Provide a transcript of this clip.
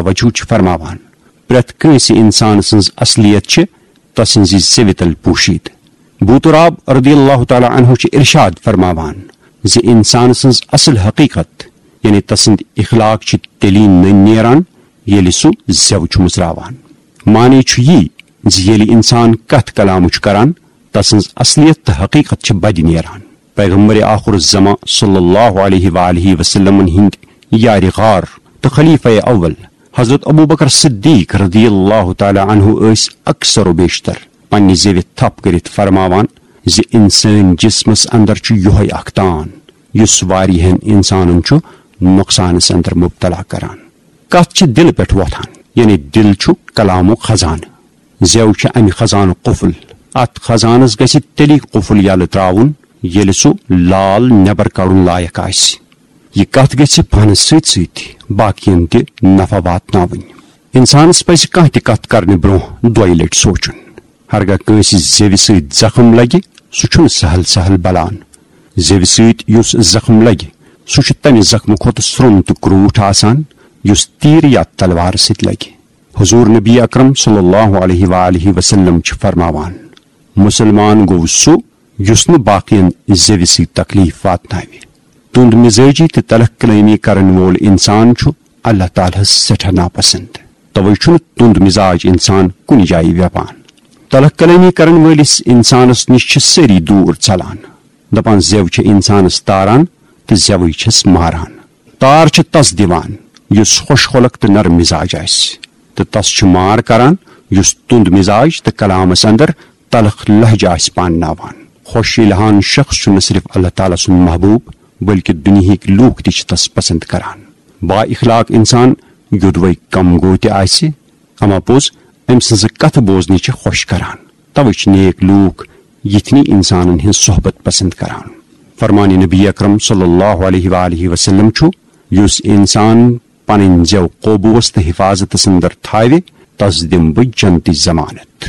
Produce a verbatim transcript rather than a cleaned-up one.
وجہ چھِ فرماوان، پرٛٮ۪تھ کٲنٛسہِ اِنسان سٕنٛز اصلیت چھِ تسٕنٛزِ زیوِ تل پوٗشِتھ۔ بوتراب رضی اللہ تعالیٰ عنہ چھُ ارشاد فرماوان زِ اِنسان سٕنٛز اصل حقیقت، یعنی تسٕنٛدۍ اخلاق، چھِ تیٚلی نٔنۍ نیران، ییٚلہِ سُہ زٮ۪و چھُ مُژراوان۔ معنی چھُ یی زِ ییٚلہِ اِنسان کتھ کلامہٕ چھُ کران، تسٕنٛز اصلیت تہٕ حقیقت چھِ بدِ نیران۔ پیغمبر آخر الزمان صلی اللہ علیہ وآلہ وسلمن ہٕنٛدۍ یارِ غار تہٕ خلیفہ اول حضرت ابو بکر صدیق رضی اللہ تعالیٰ عنہ ٲسۍ اکثر و بیشتر پننہِ زیوِ تھپھ کٔرِتھ فرماوان زِ انسٲنۍ جسمس اندر چھُ یۄہے اکھ تان، یُس واریاہن انسانن چھُ نۄقصانس اندر مبتلا کران۔ کتھ چھِ دِلہٕ پٮ۪ٹھ وۄتھان، یعنی دِل چھُ کلامُک خزانہٕ۔ زٮ۪و چھِ امہِ خزانُک قفل۔ اتھ خزانس گژھِ تیٚلی قفل یلہٕ تراوُن، ییٚلہِ سُہ لال نٮ۪بر کڑُن لایق آسہِ۔ یہِ کتھ گژھِ پانس سۭتۍ سۭتۍ باقین تہِ نفع واتناوٕنۍ۔ انسانس پزِ کانٛہہ تہِ کتھ کرنہٕ برونٛہہ دۄیہِ لٹہِ سونچُن۔ ہرگاہ کٲنٛسہِ زیوِ سۭتۍ زخم لگہِ، سُہ چھُنہٕ سہل سہل بلان۔ زیوِ سۭتۍ یُس زخم لگہِ، سُہ چھُ تمہِ زخمہٕ کھۄتہٕ سرٛوٚن تہٕ کرٛوٗٹھ آسان، یُس تیٖر یا تلوارٕ سۭتۍ لگہِ۔ حضور نبی اکرم صلی اللہ علیہ وآلہ وسلم چھِ فرماوان، مسلمان گوٚو سُہ یُس نہٕ باقین زیوِ سۭتۍ تکلیف واتناوِ۔ تُند مزاجی تہٕ تلخ کلٲمی کرن وول انسان چھُ اللہ تعالیٰ ہس سٮ۪ٹھاہ ناپسند۔ توے چھُنہٕ تُند مزاج انسان کُنہِ جایہِ ویپان۔ تلخ کلٲمی کرن وٲلِس انسانس نِش چھِ سٲری دوٗر ژلان۔ دپان زٮ۪و چھِ انسانس تاران تہٕ زٮ۪وٕے چھِس ماران۔ تار چھِ تس دِوان یُس خۄش خلق تہٕ نرم مزاج آسہِ، تہٕ تس چھِ مار کران یُس تُند مزاج تہٕ کلامس اندر تلخ لہجہ آسہِ پانناوان۔ خۄش ییٚلہِ ہان شخص چھُ نہ صرف اللہ تعالیٰ سُنٛد محبوب، بلکہ دُنیہٕکۍ لوٗکھ تہِ چھِ تس پسند کران۔ با اخلاق انسان یوٚدوے کم گوٚو تہِ آسہِ، اما پوٚز أمۍ سٕنٛزٕ کتھٕ بوزنہِ چھِ خۄش کران۔ توے چھِ نیک لوٗکھ یِتھنٕے انسانن ہٕنٛز صحبت پسند کران۔ فرمان نبی اکرم صلی اللہ علیہ وآلہ وسلم چھُ، یُس انسان پنٕنۍ زٮ۪و قوبوس تہٕ حفاظتس اندر تھاوِ، تس دِمہٕ بہٕ جنتی ضمانت۔